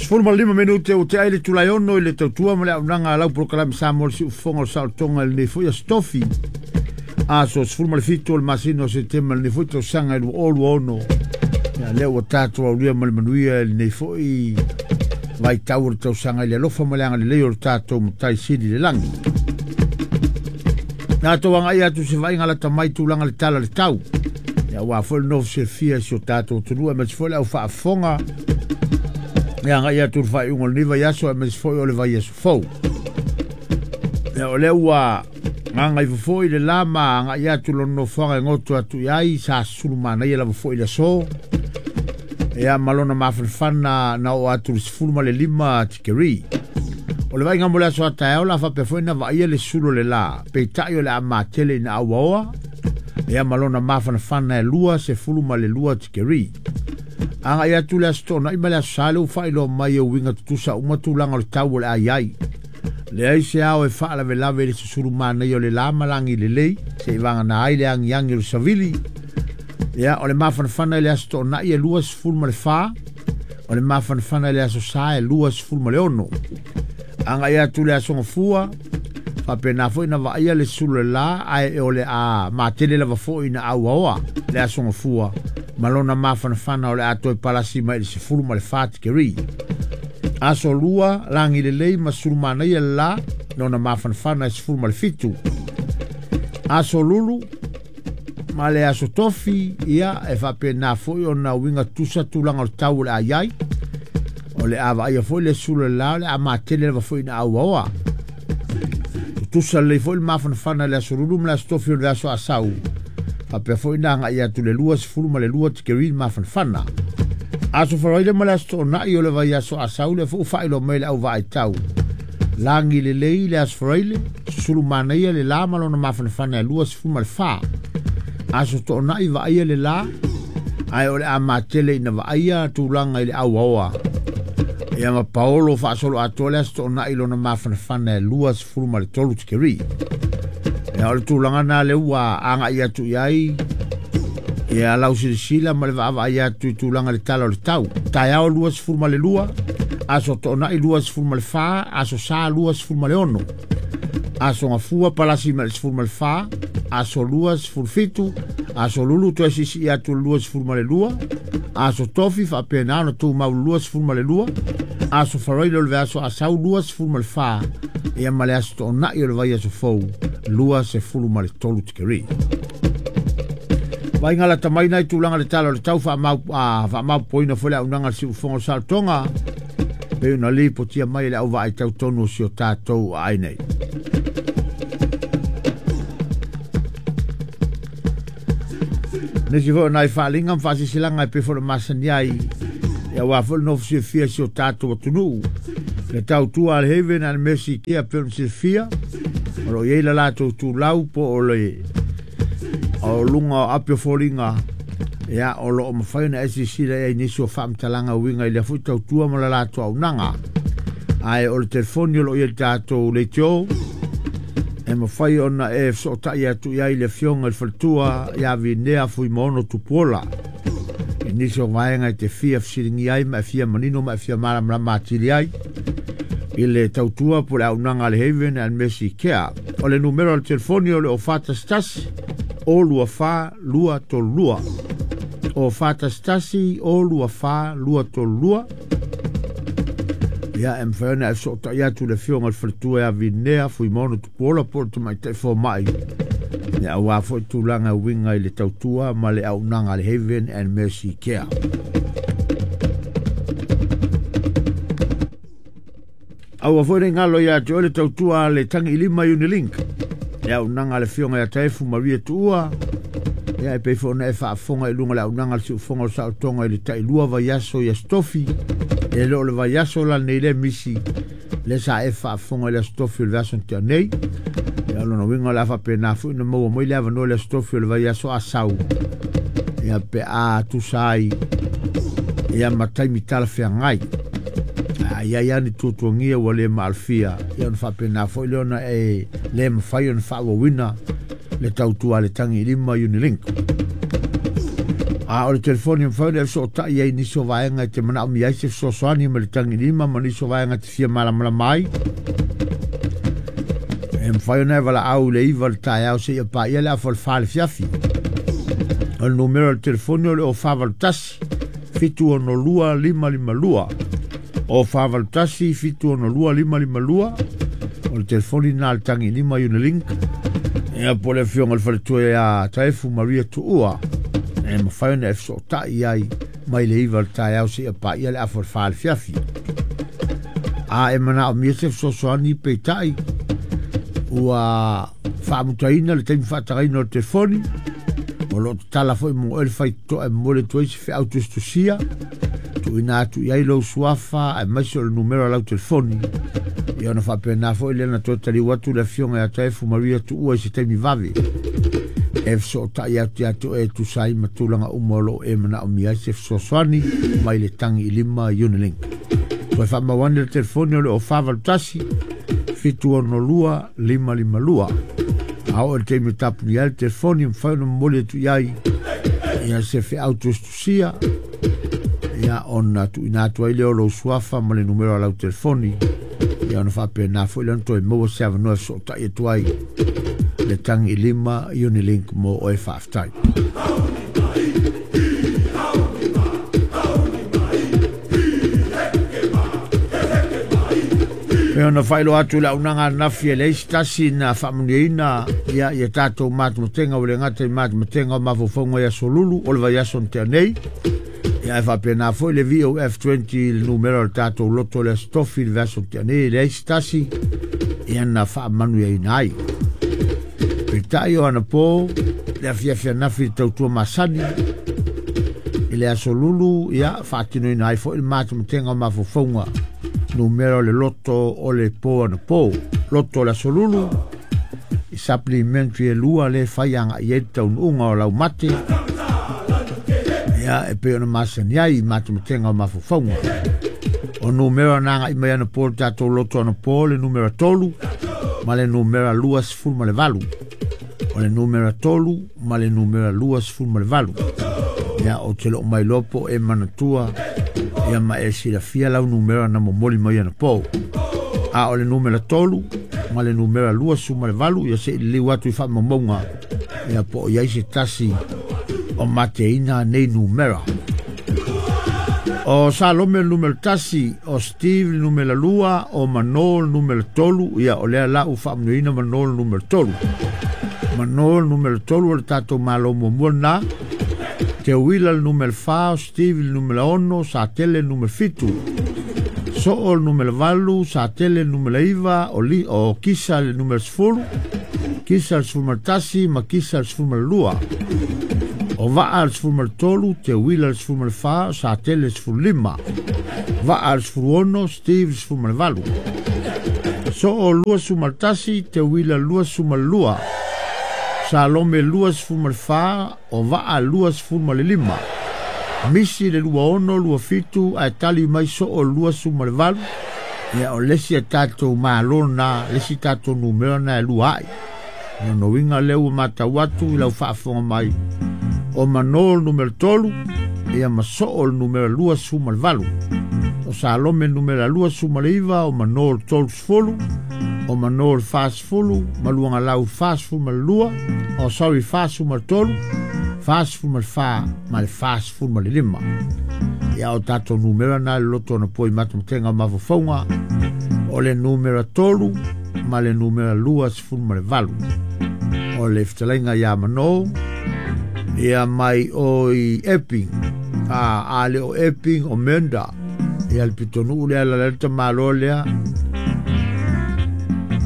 15 minute o te ai le tulai ono i le tautua ma le aunaga a lau polokalame Samoa le siufofoga o le saolotoga i lenei foi aso Tofi. Aso 17 o le masina o Setema lenei foi tausaga i 2026. Ia lea ua tatou aulia ma le manuia i lenei foi vaitau o le tausaga i le alofa ma le agalelei o le tatou Matai Sili i le lagi. Tatou agai atu se vaaiga lata mai tulaga le tala le tau. Ia aua foi le nofo silafia i si o tatou atunuu aemaise foi le au faafofoga. Ia agai atu le faaiuga o lenei vaiaso aemaise foi o le vaiaso fou. Ia o lea ua gagaifo foi le la ma agai atu lona nofoaga e goto atu i ai sa sulu manaia lava foi le aso. Ia ma lona mafanafana na oo atu le 15 tikeri. O le vaaiga mo le aso a taeao la faapea foi na vaaia le sulu o le la, peitai o le a matele ina auaoa, ia ma lona mafanafana e 22 tikeri. Agai atu le aso Toonai ma le aso Sa le ua faailoa mai e uiga tutusa uma tulaga o le tau o le a i ai. Leai se ao e faalavelave i le susulu manaia o le la ma lagi lelei, se i vagana ai le agiagi o le savili. Ia, o le mafanafana i le aso Toonai e 24, o le mafanafana i le aso Sa e 26. Agai atu le aso Gafua, faapena foi na vaaia le sulu o le la, ae o le a matele lava foi na auaoa le aso Gafua, ma lona mafanafana o le a toe palasi mai i le 14 tikeri. Aso Lua, lagi lelei ma sulu manaia le la, lona mafanafana e 17. Aso Lulu, ma le aso Tofi, ia e faapena foi ona uiga tusa tulaga o le tau o le a i ai. O le a vaaia foi le sulu o le la, o le a matele lava foi na auaoa. Tutusa lelei foi le mafanafana i le aso Lulu ma le aso Tofi o le aso Asau. Faapea foi na agai atu le 22 tikeri le mafanafana. Aso Faraile ma le aso Toonai o le vaiaso Asau le foi faailoa mai le au vaaitau. Lagi lelei le aso Faraile, susulu manaia le la ma lona mafanafana e 24. Aso Toonai vaaia le la, ae o le a matele ina vaaia tulaga i le auaoa. Ia ma paolo faasolo atoa le aso Toonai lona mafanafana e 23 tikeri. Ia o le tulaga na le ua agai atu i ai, ia lau silasila ma le vaavaai atu i tulaga le tala o le tau. Taeao 22, aso Toonai 24, aso Sa 26. Aso Gafua palasi ma le 14, aso 27, aso Lulu toe sisi atu le 22, aso Tofi faapena ona tumau le 22, aso Faraile o le aso Asau 24, ia ma le aso Toonai o le vaiaso fou 23 tikeri. Vaaiga lata mai nai tulaga le tala o le tau faamaupoina foi le aunaga le siufofoga o le saolotoga, pei ona lipotia mai le au vaaitau tonu o si o tatou aai nei. Nisi foi o nai faaaliga ma faasisilaga e pei foi ona masani ai, ia aua foi le nofo silafia i si o tatou atunuu. Le tautua a le Haven and Mercy Care pei ona silafia, o lo o i ai le latou tulau po o le o luga o api o foliga, ia o lo o mafai ona e silasila i ai nisi o faamatalaga uiga i lea foi tautua ma le latou auaunaga. Ae o le telefoni o lo o i ai le tatou leitio, e mafai ona e fesootai atu i ai le afioga i le faletua ia Vinea Fuimaono Tupuola. I nisi o vaega e te fia fesiligia ai ma e fia manino ma e fia malamalama atili ai i le tautua po le auaunaga a le Haven and Mercy Care. O le numera o le telefoni o le o 411 o 24 232. O 411 o 24 232. Ia e mafai ona e fesootai atu le afioga i le faletua ia Vinea Fuimaono Tupuola po o le tamaitai fomai. Ia aua foi tulaga uiga i le tautua ma le auaunaga a le Haven and Mercy Care. Aua foi ne galo ia te oe le tautua a le Tagi i Lima Unilink. Le auaunaga a le afioga ia Taefu Maria Tuua. Ia e pei foi ona e faafofoga i luga o le auaunaga a le siufofoga o le saolotoga i le tailua vaiaso i aso Tofi. E le o le vaiaso la lenei le misi le sa e faafofoga i le aso Tofi o le vaiaso na tea nei. Ia o lona uiga o le a faapena foi ona maua mai le avanoa i le aso Tofi o le vaiaso Asau. Ia pe a tusa ai ia ma taimi talafeagai. A i ai lava ni tuatuagia ua le maalofia, ia ona faapena foi lea ona e le mafai ona faaauauina le tautua a le Tagi i Lima Unilink. A o le telefoni e mafai ona e fesootai ai i nisi o vaega e te manaomia ai se fesoasoani mai le tagilima ma nisi o vaega e te fia malamalama ai. E mafai ona e valaau i le 9 i le taeao seia paia le afa o le 4 i le afiafi. O le numera o le telefoni o le 0481 762 552. 0481 762 552. O le telefoni lena a le tagilima Unilink. Ia po o le afioga i le faletua ia Taefu Maria Tuua. E mafai ona e fesootai ai mai le 9 i le taeao seia paia le afa o le 4 i le afiafi. A e manaomia se fesoasoani peitai ua faamutaina le taimi faatagaina o le telefoni, o lo o tatala foi mo oe le faitotoa e momoli atu ai se feau tusitusia, tuuina atu i ai lou suafa aemaise o le numera o lau telefoni. Ia ona faapena foi lea na toe taliu atu le afioga ia Taefu Maria Tuua i se taimi vave e fesootai atu ia te oe e tusa ai ma tulaga uma o lo o e manaomia ai se fesoasoani mai le tagi i lima Unilink. Toe faamau ane le telefoni o le 0481 762 552. A oo i le taimi e tapunia ai le telefoni, e mafai ona momoli atu i ai ia se feau tusitusia, ia ona tuuina atu ai lea o lou suafa ma le numera o lau telefoni, ia ona faapena foi lea ona toe maua se avanoa e fesootai atu ai le tagi i lima Unilink mo oe. Faafetai. E ona faailoa atu le auaunaga ananafi e leai se tasi na faamanuiaina ia ia tatou matamatega, ua le gata i matamatega o mafaufauga i aso lulu o le vaiaso na tea nei, ia ae faapena foi le VOF20 le numera o le tatou loto o le Aso Tofi le vaiaso na tea nei, e leai se tasi ia na faamanuiaina ai. Peitai o anapo le afiafi ananafi i le tautua masani i le aso lulu, ia faatinoina ai foi le matamatega o mafaufauga numera o le loto o le po anapo, loto o le aso lulu i supplementary e lua le fai agai i ai le taunuuga o laumate, ia e pei ona masani ai i matamatega o mafaufauga. O numera na agai mai anapo le tatou loto anapo, le numera 3 ma le numera 28. O le numera 3 ma le numera 28. Ia o te loo mai loa po e manatua ia ma e silafia lau numera na momoli mai anapo. A o le numera 3 ma le numera 28, ia se i liliu atu i faamaumauga ia po o i ai se tasi o mateina nei numera. O Salome le numera 1, o Steve le numera 2, o Mano le numera 3, ia o lea la ua faamanuiaina Mano le numera 3. Mano le numera 3 o le tatou malo muamua lena. Teuila le numera 4, o Steve le numera 6, Satele le numera 7. Soo le numera 8, Satele le numera 9, o Kisa le numera 10, Kisa le 11 ma Kisa le 12. O Vaa le 13, Teuila le 14, Satele le 15. Vaa le 16, Steve le 18. Soo 21, Teuila 22. Salome 24, o Vaa 25. Misi le 26, 27, ae tali mai Soo 28. Ia o le isi a tatou malo na, le isi tatou numera na e lua ai. O lona uiga lea ua matau atu i lau faafofoga mai, o Mano le numera 3, ia ma Soo le numera 28. O Salome le numera 29, o Mano le 30, o Mano le 40, ma Luagalau 42, o sorry 43, 44 ma le 45. Ia o tatou numera na le loto na poi matamatega o mafaufauga, o le numera 3 ma le numera 28. O le fetalaiga ia Mano, ia mai o i Epping, a le o Epping o Menda, ia le pitonuu lea la le tamalo lea,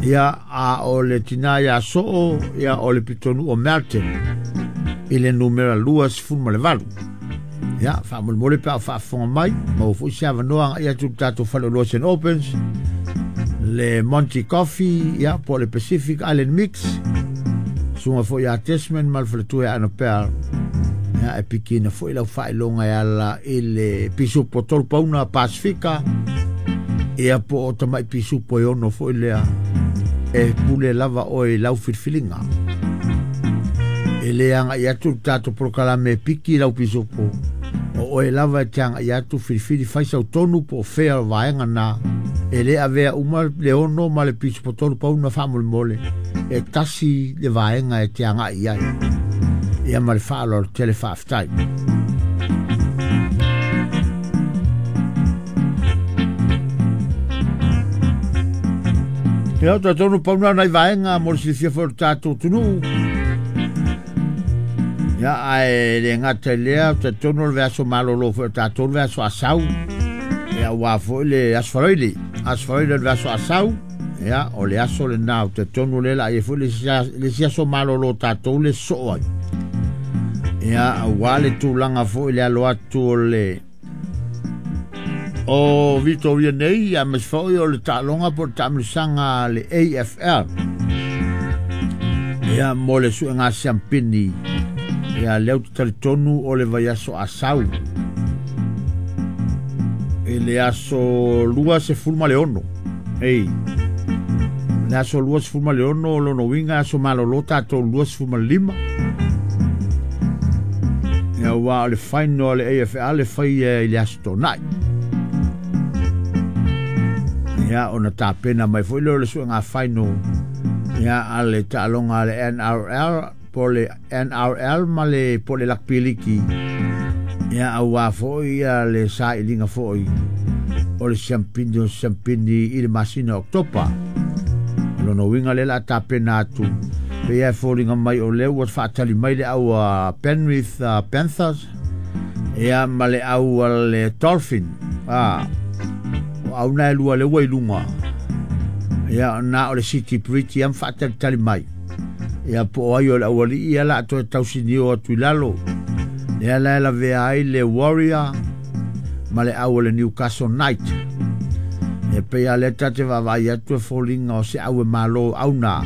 ia a o le tina ia Soo, ia o le pitonuu o Melton, i le numera 28. Ia, faamolemole pe a o faafofoga mai, maua foi se avanoa agai atu i le tatou faleoloa St. Albans, le Monty Coffee, ia, po o le Pacific Island Mix, susuga foi ia Desmond ma le faletua ia Annabelle, ia, e pikina foi lau faailoga e ala i le pisupo 3 pauna Pasifika, ia po o tamai pisupo e 6 foi lea, e pule lava oe i lau filifiliga. E E le agai atu le tatou polokalame e piki lau pisopo o oe lava e te agai atu filifili fai sau tonu po o fea o vaega na e le avea uma le 6 ma le pisopo 3 pauna faamolemole e tasi le vaega e te agai i ai. Ia ma le faaaloalo tele faafetai. Ia, o talitonu pauna nai vaega mo le silafia foi o le tatou atunuu. Ia, ae le gata i lea, o talitonu o le vaiaso malolo foi o tatou le vaiaso Asau. Ia, aua foi le Aso Faraile. Aso Faraile o le vaiaso Asau. Ia, o le aso lena o talitonu o lea o le a i ai foi le isi aso malolo o tatou le sosoo ai. Ia, aua le tulaga foi le alo atu o le o Vitoria nei, aemaise foi o le taaloga po o le taamilosaga a le AFL. Ia, mo le suega siampini, ia, lea ou te talitonu o le vaiaso Asau. I le aso 26. Ei, le aso 26 o lona uiga aso malolo tatou 25. Ia, aua o le final a le AFL e fai i le aso Toonai. Ia, ona tapena mai foi lea o le suega final ia a le taaloga a le NRL po le NRL ma le po le Rugby League. Ia, aua foi ia le sailiga foi o le siampini o siampini i le masina o Oketopa. O lona uiga lea o le a tapena atu pei e foliga mai o lea ua faatali mai le au a Penrith Panthers ia ma le au a le Dolphin. O au na e lua lea ua i luga. Ia, na o le City Bridge ia ma faatalitali mai. Ia, po o ai o le aualii ia la a toe tausinio atu i lalo. Lea la e lavea ai le Warrior ma le au o le Newcastle Knight. Ia pei a lea ta te vaavaai atu e foliga o se au e malo au na.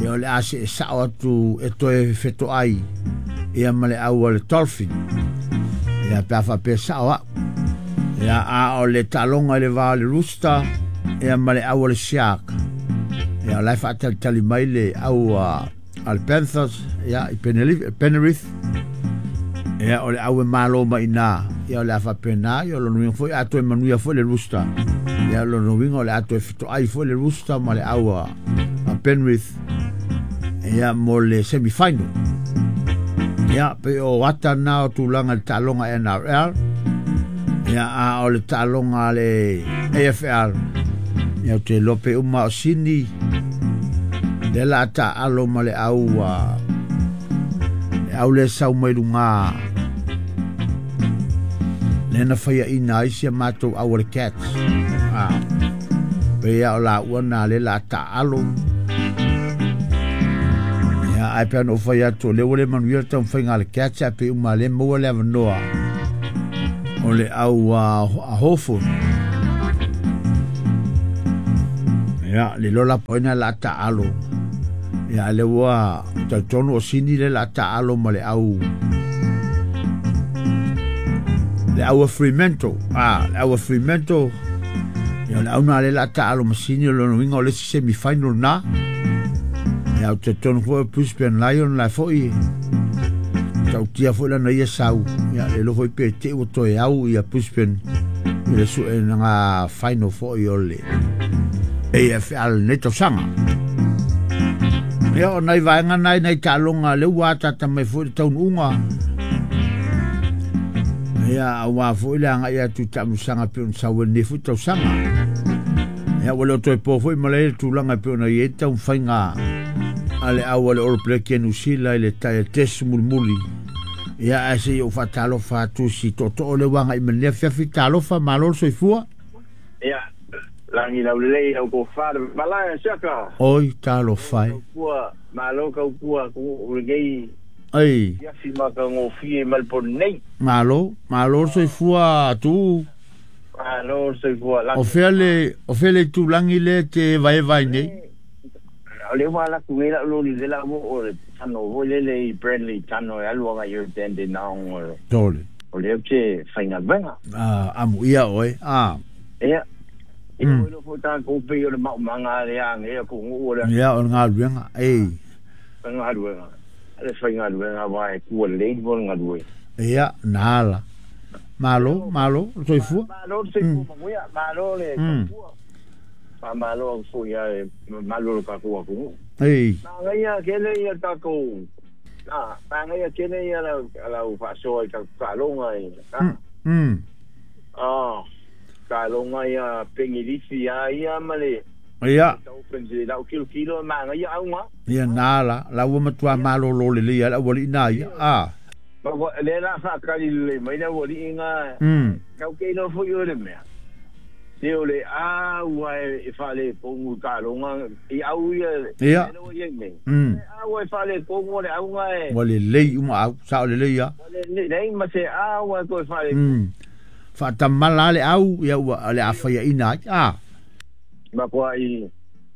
Ia o le a se e sao atu e toe fetoai ia ma le au a le Dolphin. Ia pe a faapea sao au. Ia a o le taaloga i le va o le Rooster ia ma le au a le Shark. Ia o la e faatalitali mai le au a le Panthers ia i Penrith. Ia o le au e malo mai ina. Ia o le a faapena, ia o lona uiga foi a toe manuia foi le Rooster. Ia o lona uiga o le a toe fetoai foi le Rooster ma le au a Penrith ia mo le semi-final. Ia pe o ata na o tulaga i le taaloga NRL. Ia a o le taaloga a le AFL. Ia ou te iloa pe uma o Sini lea la a taalo ma le au a le au le sau mai luga lea na faiaina ai si a matou au a le Cats. Pe ia o laua na lea la a taalo. Ia ai pe ana ou fai atu o lea ua le manuia le taumafaiga a le Cats ae pe uma lea maua le avanoa o le au a Hawthorn. Ia, le lola poina la taalo. Ia, le ua talitonu o Sini le la taalo ma le au a Fremantle. Le au a Fremantle. Ia, le au na le la taalo ma Sini o lona uiga o le isi semi-final na. Ia, o talitonu foi o Brisbane Lion la foi. Tautia foi lana ia sau. Ia, le lo foi pe te ua toe au ia Brisbane i le suenaga final foi o le AFL nei tausaga. Ia, o nai vaega nai nai taaloga le ua atata mai foi le taunuuga. Ia, aua foi le agai atu i taamilosaga pei ona sau ai lenei foi tausaga. Ia, ua le o toe po foi ma le tulaga pei ona i ai taumafaiga a le au a le All Black ia New Zealand i le tai test mulimuli. Ia, ae se i ou faatalofa atu si tootoo le ua agai mai lenei afiafi. Talofa, malo le soifua. Ia, lagi laulelei au tofa le malae siaka. Oi, talofa e. Kaupua, malo kaupua ku lenei. Ai. Afiafi ma ka ngofie mal nei. Malo, malo le soifua tu. Malo le soifua lagi. O fea le tulangi le te vaevai nei. O le ua la ku la lo li la mo o le tano voi le le Bradley tano e alu anga i tende na o. Tole. O le te fainga venga. Amu ia oe. Ia. Ia o lo fo ta ko pe o le mau manga le anga ia ko ngu o le. Ia o ngā luenga. Ei. Ngā luenga. Le faigaluega aua e tua lelei mo le galue. Ia, na ala. Malo, malo, le soifua. Malo le soifua manuia, malo le tautua. Faamalo atu foi ia le mamalu o le tatou atunuu. Ei. Manaia tele ia tatou, manaia tele ia lau faasoa i tatou taaloga i, taaloga ia pengilifi a ia ma le Ia. Lau kilokilo manaia auga. Ia na la, la ua matua malolo lelei a le aualii na ia. A. Le la whaakari lelei mai le aualii ngā. Kau ke ino foi o le mea. Se o le a ua e whale kongu taaloga i au ia. Ia. Ia nei. A ua e whale kongu le auga e. Ua lelei uma au, sao lelei ia. Lelei ma se a ua e koe whale. Whaatamala le au, ia ua le awhaia ina ai. A. Ma kua i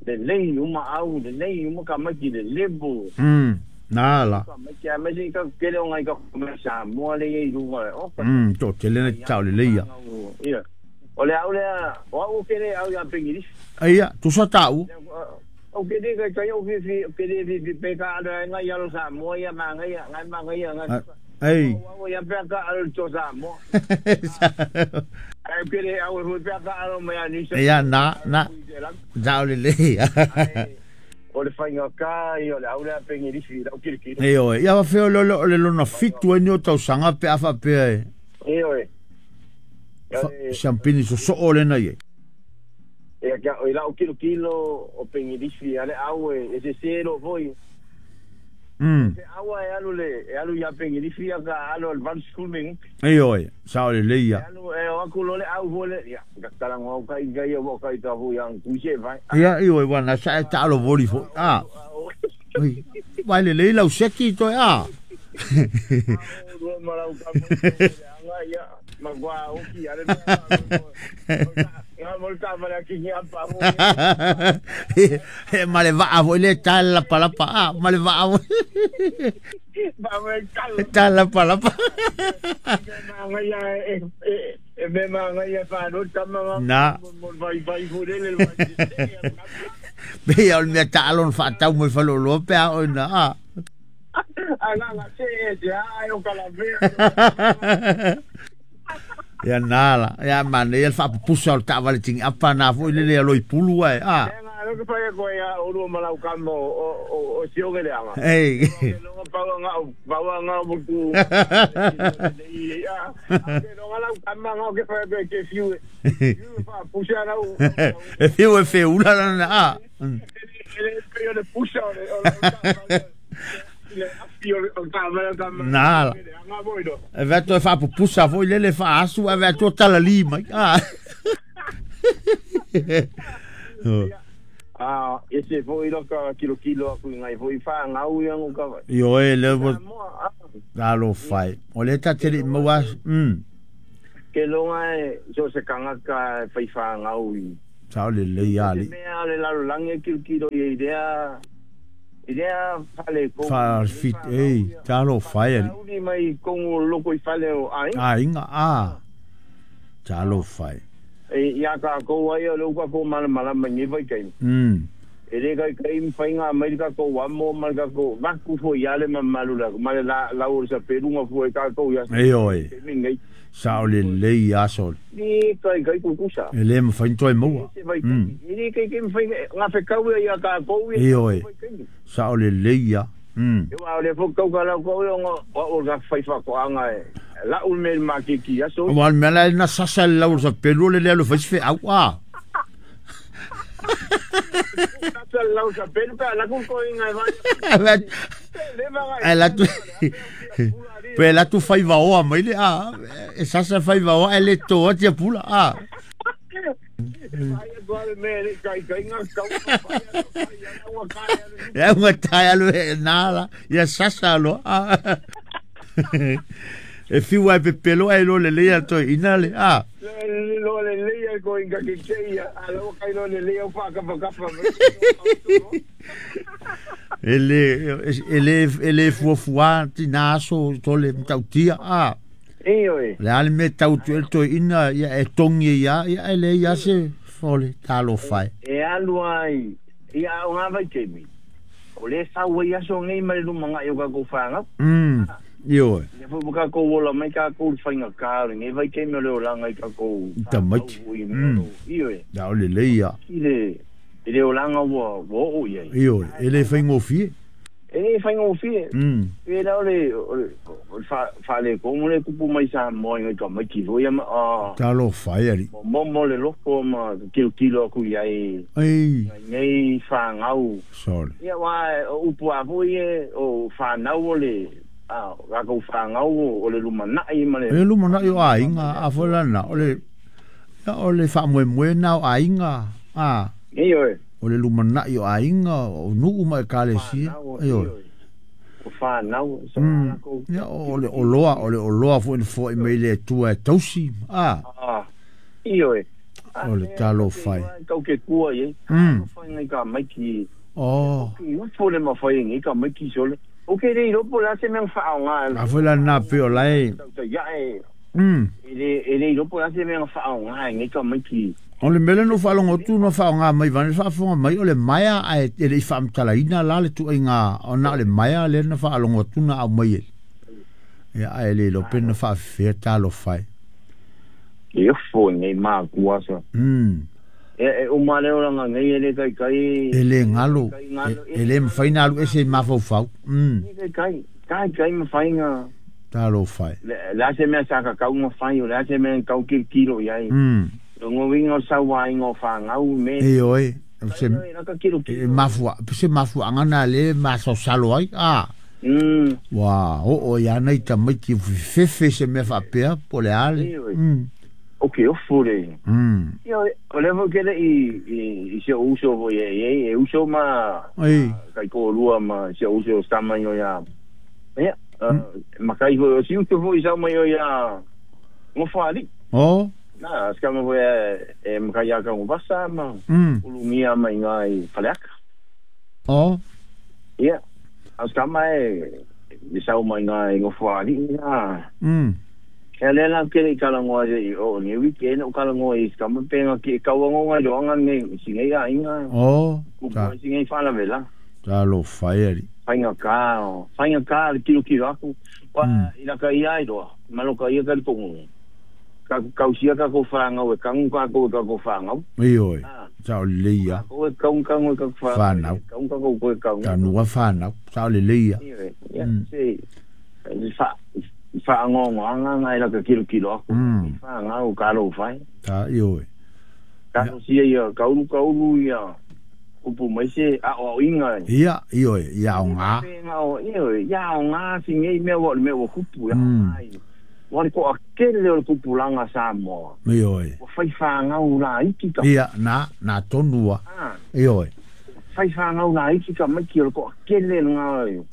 lelei uma au, lelei uma ka maiki le lebo. Nā la. Ka maiki a mesi ka kele o ngai ka me sa moa le i lunga. Tō tele na tau lelei ia. Ia. O le au lea, o au kele au ia pengirisi. Ia, tusa tau. O kele kai kai o fifi, o kele fifi pe ka alo ngai alo sa moa ia mangai, ngai mangai ngai. Ei. O ia pe ka alo to sa moa. Ai kele au e pe ka alo mai ani. Ia na na. Tau lelei. O le whainga ka, o le au lea pengirisi, lau kirikiri. E oe, ia wawheo lolo o le lona fitu e ni o tausanga pe awha pea e. E oe. Siampini so so o lena ie. E kia, o lau kilokilo o pengirisi, ale au e, e se sero foi. Se aua e alu le, e alu ia pengirisi a ka alu al van school meng. E oe, sa o le leia. E alu, e o aku lole au fole, ia, katalango au kai kai o kai ka hui ang kuise vai. Ia, i oe, wana sa e taalo voli fo. Ah. Oi, vai le lei lau seki toi, ah. Rua marau ka mo, anga ia, magua oki, ale ngā mo ka mara ki ngi apa mo. He male va vo le tala palapa, ah, male va vo. Ba me kal. Tala palapa. Manga ia e me manga ia fa no tama na. Mo vai vai vo le le. Be ia o me talon fa tau mo fa lo lo pe a o na. Ah. Ala se e ai o kala ve. Ia nala, ia mane ia fa pusa o ta vale tingi apa na fo ile le loi pulu ai. Ah. Nga ko pa ko ia o ru malau kamo o sio le anga. Ei. Longa pa nga pa nga mo ku. Ia. Longa lau kama nga ke pa ke fiu. Fiu fa pusa na u. E fiu e fiu la na a. Ele pe o le pusa o le. Nala. E veto e fa pupusa foi lele fa asu e veto tala lima. Ah. Ah, ese foi lo ka kilo kilo aku ngai foi fa ngau ia ngo ka. Io e le mo alo fai. O le ta tele mo wa. Ke longa e so se kanga ka fai fa ngau i. Sa le le ya li. Me ale la lange kilo kilo i idea. Idea fale ko fa fit ei talo fai ali. Uli mai kongo loko i fale o ai. Ai nga a. Talo fai. E ia ka ko ai o ka ko mala mala mai vai kai. E le kai kai fai nga mai ka ko wa mo mal ka ko va ku fo ia le mamalu la male la la o sa perunga fo ka ko ia. Ei oi. Sa o le le ia sol. Ni kai kai ku kusa. E le mo fai toi mo. Ni kai kai fai nga fe kau ia ka ko ia. Ei oi. Sa o le le ia. E wa le fo kau ka la ko o o ga fai fa ko anga e. La u me ma ki ki aso. O al mela na sasa la o sa pelu le le lo fai fe au a. Sasa la o sa pelu ka la ku ko inga vai. Ela tu pe la tu fai va o mai le a. E sasa fai va o ele to tia pula a. Ia unga tai alu e nala ia sasa lo a. E fiu ai pe pelo ai lo le lea toi ina le a. Lo le lea ko inga ke ke a lo kai lo le lea pa ka pa ka. Ele ele fuafua tina aso tole tautia a. E oi. Le ale me tau tu el toi ina ia e tongi ia ia ele ia se fole talo fai. E alu ai ia o ngā vai kemi. O le sau ai aso nei ma le lumanai o kākou whāngau. Ioe. Ia fo kākou ola mai kākou le whainga kā o le nei vaitaimi o le olaga i kākou Tamaiti. Ioe. Ia o le lelei ia. I le i le olaga ua oo i ai. Ioe, e le faigofie. E le faigofie. Pe la o le faaletonu le tupu mai Samoa i ngai tamaiti foi ia ma Talofa e alii. Momo le loko ma tilotilo atu i ai Ei. Nei whāngau. Sorry. Ia wā, o upu a foi e, o whānau o le, a, rākou whāngau o le lumanai ma le... E lumanai o aiga, a foi lana, o le, ia, o le faamoemoe na o aiga, a. Ioe. O le lumanai o aiga, o nuu ma ekalesia. Ioe. O whānau, so rākou. Ia, o le oloa foi na fo'i mai le Atua e tausi, a. Ioe. O le talofa e. Kau ke kua i e. Whai ngai ka maiki. Oh. I ufo le mawhai ngai ka maiki sole. O ke rei ropo la se mea whaonga. A foi la nā pe o lai. Tau ia e. E rei ropo la se mea whaonga ngai ka maiki. O le mele no whaalongo tu no whaonga mai vane whaafonga mai o le maia a e le i whaamtalaina la le tuaiga o na o le maia le na whaalongo tu na au mai e. Ia a e le lope na whaafea talofa e. E ofo ngai mākua sa. E o maleo langa ngai e le kai kai. E le ngalo. E le mwhaina alu ese i mafaufau. Kai kai. Kai kai mwhainga. Talofa e. La se mea saka kau mwhai o la se mea kau kilo i ai. Ngo winga o sawa ingo whangau me. E oe. Se mafua. Se mafua angana le masosalo ai. Ah. Wa o o ia nei tamaiti fefe se mea whapea po le ale. O ke ofo le. Ia, o le fo kele i se uso fo e uso ma kai ko lua ma se uso stama i o ia. Ia, ma kai fo si uso fo i sau mai o ia ngofali. Oh. Na, skama fo e makai ia ka ngobasa ma ulumia mai ngai whaleaka. Oh. Ia, skama e i sau mai ngai ngofali ia. Ea le la kere i kalangoa i o ni wiki e o kalangoa i skama penga ki kauango ngai roanga nei si ngai a inga. Oh. Ku si ngai whala vela. Talofa e ari. Whainga ka le kilo kilo aku. Wa i laka ia i roa. Malo ka ia ka lipongo. Ka kausia ka ko whangau e kangu ka ko ka ko whangau. Ioe. Sa o le leia. Ko e kaung kangu ka whanau. Kaung ka ko kaung. Tanua whanau. Sa o le leia. Ioe. Ia se whaangongo anga ngai laka kilo kilo aku. Whaangau ka lo whai. Ta ioe. Ka sia ia kaulu kaulu ia kupu mai se a o inga. Ia ioe ia o ngā. Ioe ia o ngā si ngei mea wa mea wa kupu ia ngai. Wa ko a kele o kupu langa Samoa. Ioe. O whai whaangau la iki ka. Ia na tonua. Ioe. Whai whaangau la iki ka mai ki o ko a kele ngā.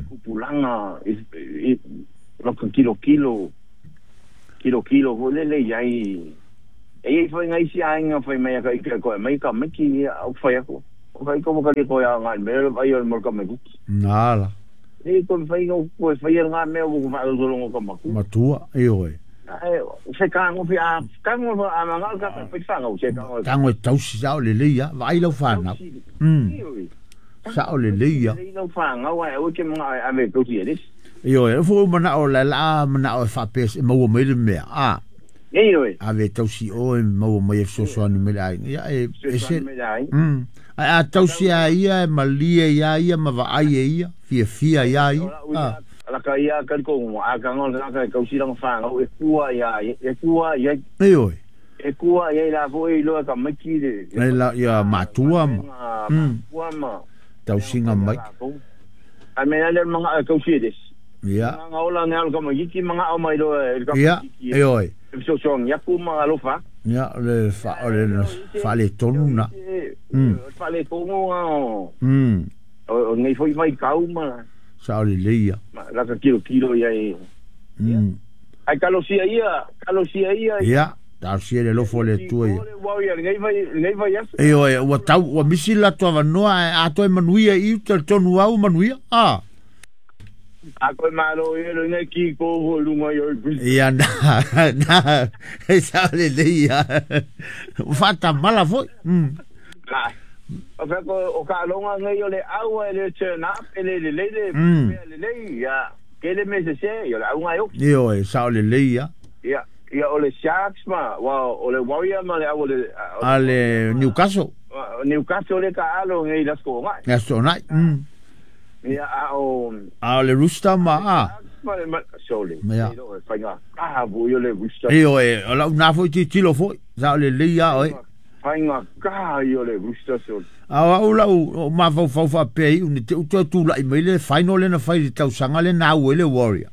Kupu langa laka kilo kilo kilo kilo fo le le iai e foi ngai si ainga foi mai ka ika ko mai ka miki au foi ako o kai ko ka ko ya ngai me le ai o mo ka me nala e ko foi no ko foi ngai me o ko fa lo ko maku matua e oi ai se ka ngo fi a ka ngo a manga ka foi fa ngo se ka ngo tango tausi sa o le le ia vai lo fa na sa o le le ia lo fa ngo ai o ke mga a me ko si eres Ioe, fo mana o la la mana o fa pes e maua mai le mea. A. Ioe. A ve tausi o e maua mai e fesoasoani mai le aiga. Ia e se. A tausi a ia e malie ia ia ma vaai e ia, fiafia ia ia. A. La ka ia ka ko a ka ngo la ka kausi langa whangau e kua ia e kua ia. Ioe. E kua ia la fo e loa ka maiki le. La ia matua ma. Matua ma. Tausinga mai. A me le manga kausi eres. Ia. Mga ola ngai ka magiki mga o mai lo ka Ia, ioe. So so nya ku mga alofa. Ia le fa o le fa le tonu na. Fa le tonu o. O ngai foi mai kau ma. Sa o le leia. La ka kilo kilo ia e. Ai kalosia ia, kalosia ia. Ia, ta sia le lofo le tua ia. Ngai vai ia. Ioe, ua tau ua misi la tua vanoa a toe manuia i te tonu au manuia. Ah. A koe malo e lo ngai ki ko ho lunga i oi. Ia na e sa le leia. Fata mala foi. O ka longa ngai o le aua le turn up le le le le le ia ke le me se ia le au ngai o. Io e sa le le ia. Ia ia o le Sharks ma wa o le Warrior ma le au le ale Newcastle. Newcastle le ka alo ngai la sko ngai. Ya so nai. Ia a o a le Rooster ma a. Ma sole. Fainga. Ah bu yo le Rooster. Io e la una foi ti tilo foi. Sa le le ia oi. Fainga ka yo le Rooster sole. A o la o ma fau fau fa pe u ni te u tu la mai le final le na fai tau sanga le na le Warrior.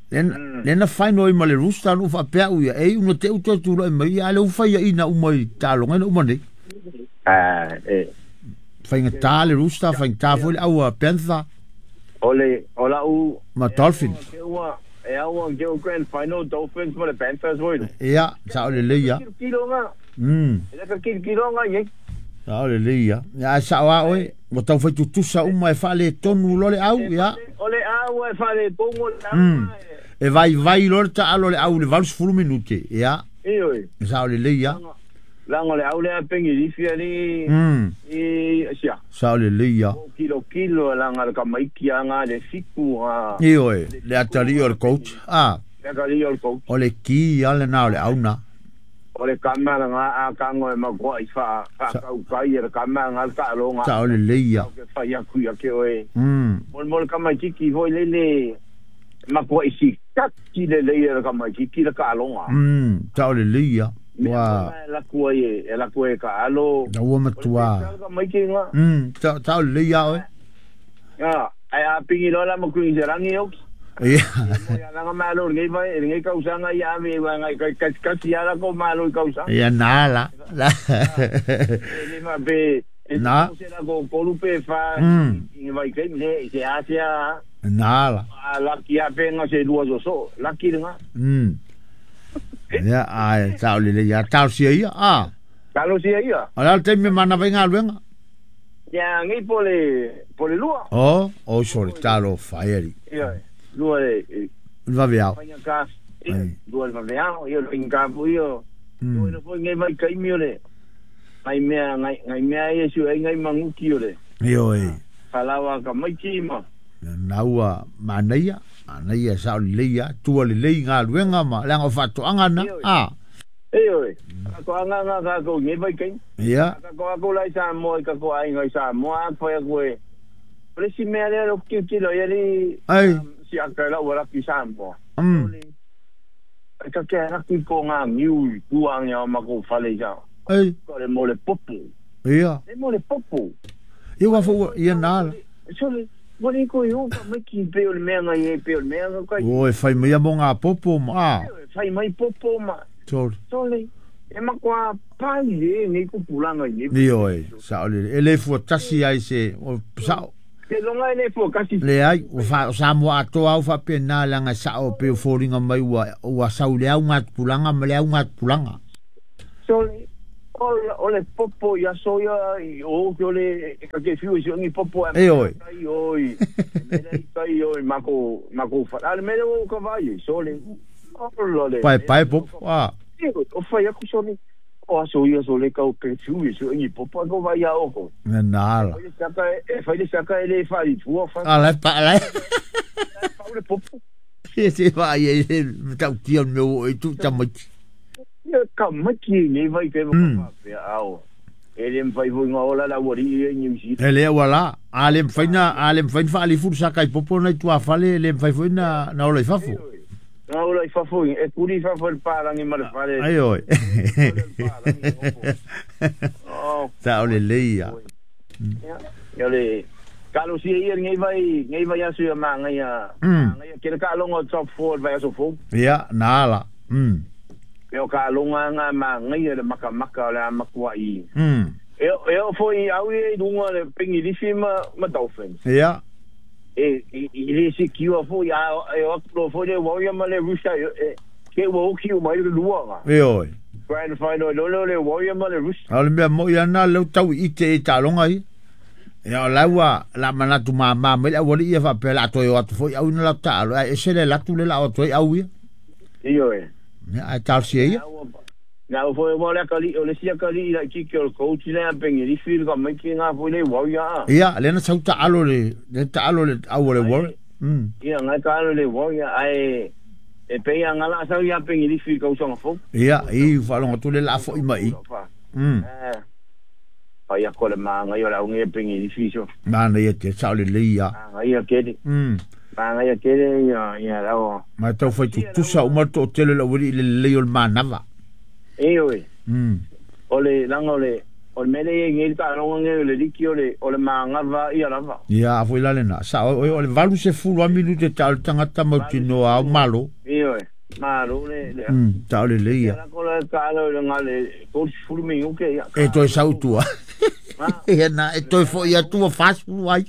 Le na final ma le Rooster no fa pe u ia e u te u tu la mai a le u fai ina u mai ta longa no mai. Ah e fainga ta le Rooster fainga ta foi au a Panther. Ole ola u ma Dolphins. E au ke grand final Dolphins ma le Panthers foi. Ia sa le le ia. Kilonga. E ka kilonga ye. Sa le le ia. Ya sa wa oi, mo tau fai tutusa uma e fale tonu lo le au ia. Ole au e fale tongo le au. E vai vai lo ta alo le au le valus fulu minute ia. E oi. Sa le le ia. Lango le au le pengi lifia ni i sia. Sa le le ia. Kilo kilo langa le kamaiki anga le fiku ha. E oi, le atali o le coach. Ah. Le atali o le coach. O le ki ia le na le au na. O le kamera nga a kango e makoa i fa fa kai le kamera nga ka longa. Sa le le ia. Ke fa ia ku ia ke oe. Mol mol kamaiki ki hoi le le makoa i si kaki le le ia kamaiki ki le ka longa. Sa le le ia. Wa la kua e la kua ka alo. Na ua matua. Kamaiki nga. Sa le ia oe. Ya, ai a pingi lola mo kui rangi oki. Ia. Ia langa malo ngai vai ngai kausanga ia me wa ngai kai kai ia la ko malo kausa. Ia na la. Le ma be na. Se la ko kolupe fa i vai kai le se asia. Na la. La ki a penga se lua so la ki nga. Ia ai tau le ia tau sia ia. Ah. Tau sia ia. Ala te me mana vai ngaluenga. Ia ngai pole lua. Oh, oh sorry talo fire. Ia. Lua e va vea. Lua va vea, io lo incapo io. Lua no foi ngai mai kai mi ole. Ngai mea ngai mea e su ngai manguki ole. Io e. Falawa ka mai ki ma. Naua manaia, manaia sa leia, tua le lei ngaluenga ma langa fatoanga na. Ah. Io e. Ko anga nga ka ko ngai mai kai. Ia. Ka ko lai sa mo ka ko ai ngai sa mo a foi ko e. Presi mea le lo ki ki lo ia ni. Ai. Si a ka la wala ki sambo. Ka ke ra ki ko nga ngiu ku anga ma ko fale ja. Ei. Ko le mo le popo. Ia. Le mo le popo. Ia wa fo ia na. So le mo ko yo ka me ki pe o le mea ngai e pe o le mea ngai. Oi fai mai mo nga popo ma. Fai mai popo ma. Tol. Tole. E ma kwa pai le nei ko pulanga ni. Ni oi. Sa le ele fu tasi ai se o sa. Ke longa ele fo kasi. Le ai o fa sa mo ato au fa pena langa sa o pe foringa mai ua sau le au ngat pulanga ma le au ngat pulanga. So o le popo ia so ia o ke le ka ke fiu si ni popo e oi. Ai oi. Me kai oi mako fa. Ale me o ka vai so le. O le. Pai pai popo a. O fa ia ku so ni. O so ia so le ka o ke fiu si ni popo ko vai ia o ko. Na la. E fai le saka ele fai tua fa. Ala pa ala. Pa le popo. Se vai e tau tia meu e tu tamai. Ia ka maki nei vai ke mo pa au. Ele mfai foi ngola la wori e New Zealand. Ele wala, ale mfai na, ale mfai fa ali fursa kai popo na tua fale, ele mfai foi na na ola i fafo. Na ola i fafo, e kuri fafo el parangi ma le fale. Ai oi. Oh. Sa ole leia. Ia le Kalo si ia ngai vai asu ma ngai a. Ngai ke ka longo top 4 vai asu fo. Ia na la. E o ka longa nga ma ngai le maka maka le makua i. E o foi au e lunga le pingi lisi ma Dolphins. Ia. E i le si kiwa foi a e o lo foi le Warrior ma le Rooster e ke wo ki o mai le lua nga. E oi. Grand final lo le Warrior ma le Rooster. Ale mea mo ia na le tau i te ta longa i. Ia la ua la manatu ma mai la wali ia fa pe la toi o atu foi au na la ta e se le la tu le la o toi au ia. Io e. Ia ai tal si ia. Na o foi mo le akali o le sia kali la ki o le coach le pengi li fil ka mai ki nga foi le wau ya. Ia, le na sau taalo le, le taalo le au le wau. Ia ngai ka le wau ya ai e pe ia ngala sau ia pengi li fil ka usanga fo. Ia, i whalonga tu le la fo i mai. Pa ia ko le manga ia la unge pengi li fil so. Mana ia te sao le le ia. Nga ia kele. Manga ia kele ia ia la o. Ma tau fai tutusa uma to tele la wili le le o le manava. E oi. O le langa o le o le mele e ngel ka longa nge le liki o le manga va ia lava. Ia a foi la lena. Sa o le valu se fulu a minute ta o tangata mautino au malo. E oi. Malo le le. Ta o le le ia. La ko le ka le ngale ko fulu mi uke ia. E toi sau tua. Ia na e toi fo ia tua fast fulu ai.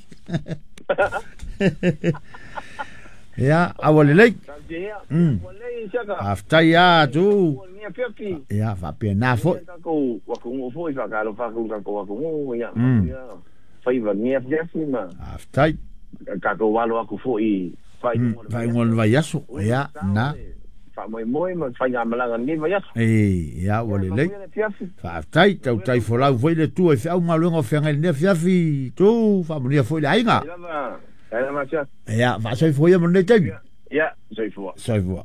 Ia awa le lei. Aftai ia tu. Ia fa pe na fo. Ko wa ko fo i fa ka lo fa ko ka ko ko ia. Fai va ngia fiafi ma. Aftai. Ka ko walo aku fo i fai fai ngol vai aso. Ia na. Fa moi moi ma fai nga malanga ni vai aso. E ia wa le lei. Fa aftai tau tai fo lau foi le tu e fa uma longa fa ngai ne fiafi tu fa mo ni fo le ainga. Ia fa sai fo ia mo ne tai. Ia sai fo. Sai fo.